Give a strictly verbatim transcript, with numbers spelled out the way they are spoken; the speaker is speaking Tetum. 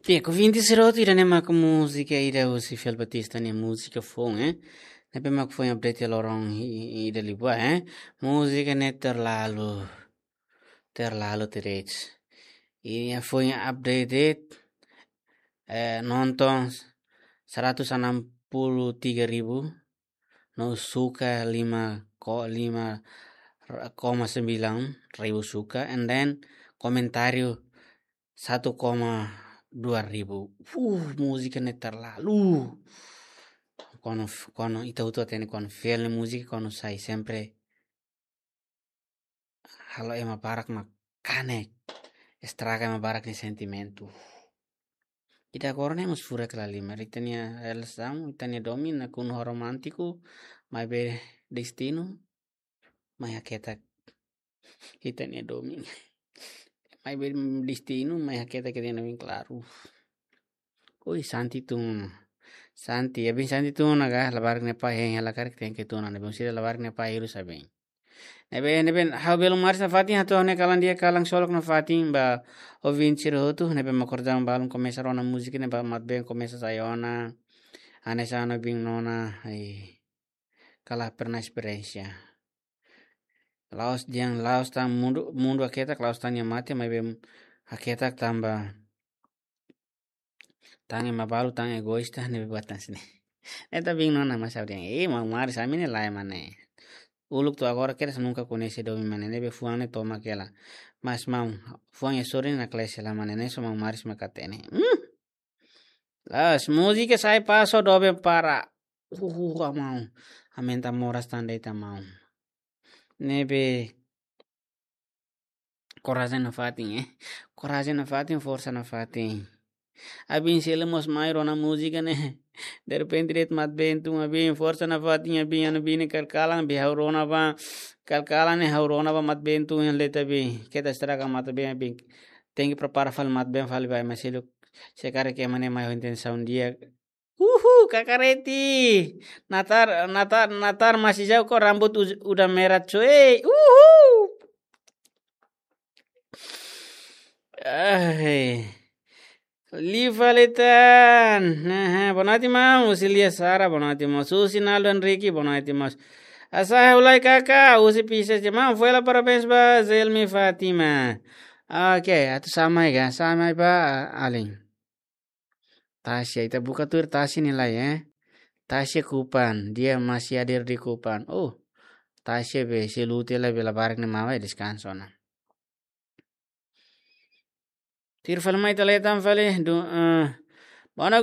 Bien, ku vinte sira hotu ida-ne'e mak múzika ida husi Fel Batista nia múzika foun, eh. Ne'ebé mak foin update loron i-, i-, ida liubá, eh. Múzika ne'e Terlalu. Terlalu Terets. I foin update, eh, nonton seratus enam puluh tiga ribu, no suka lima ko-, lima koma sembilan ribu suka, and then komentáriu satu koma dua ribu. Uh, múzika ne'e Terlalu. Kuandu, kuandu ita hotu hatene kuandu Fel nia múzika kuandu sai sempre halo ema barak mak kanek, estraga ema barak nia sentimentu. Ita agora ne'e mós furak la lima. Ita-nia relasaun, ita-nia domin nakonu ho romántiku, maibé destinu mai haketak ita-nia domin. Maibé destinu mai haketak ita-nia domin, klaru. Oi, Santi tun. Santi, abin Santi tun ona ka, labarik ne'e pai hein hela karik tenke tun ona, abin sira labarik ne'e pai hirus abin. Ne'ebé, ne'ebé, ha'u belun maris nafatin, hato'o ne'e kalan di'ak, kalan solok nafatin ba ouvinte sira hotu, ne'ebé mak kordang balun komesa rona múzika ne'e ba mat been komesa sai ona. Hanesan ohin nona, ai, kala pernah esperiénsia. La'ós dehan, la'ós tan mundu, mundu haketak, la'ós tan nia mate, maibé haketak tanba tan ema balu, tan egoísta, ne'ebé buat tan sini. Ne'e ita bin nona mas abin, eh, maun maris, ami ne'e lae mane. Uluk to'o agora kedas nunka koñese domin mane, ne'ebé fuan ne'e tomak hela. Mas maun, fuan ya sori na klase la mane, ne'e só maun maris mak hatene. Hmm. La'ós, múzika sai paso doben para. Uh, uh, uh, maun. Aumenta moras tan de'it maun. Ne'ebé korajen nafatin, eh. Korajen nafatin, forsa nafatin. Abin sira mós mai rona múzika ne'e. Derrepente de'it mat been tun, abin forsa nafatin, abin, abin ne'e kalkalan, abin ha'u rona ba. Kalkalan ne'e ha'u rona ba mat been tun, yang leta abin. Keta estraga mat been, abin. Tenke prepara fali mat been fali ba, mas seluk. Se karik ema ne'e mai ho intensaun di'ak. Uhu, Kakareti. Natar, natar, natar masih jauh kok rambut uj-, udah merah, cuy. Uhu. Eh. Liva Letan. Aha, boa noite, maun. Husi Lia Sara, boa noite, maun. Husi Naldo Henrique, boa noite, maun. Asa ulai kaka, husi Pisces, maun. Foi lá, parabéns ba Zelmi Fátima. Ok, atu samai ga, samai ba, ah, alin. Tasia, ita buka tuir Tasia nia lai, eh. Tasia Kupan, dia masih hadir di Kupan. Oh, Tasia be, se lute la be labarik nia maun, eh, deskansa ona. Tuir fali mai ita leten fali, du-, eh, bona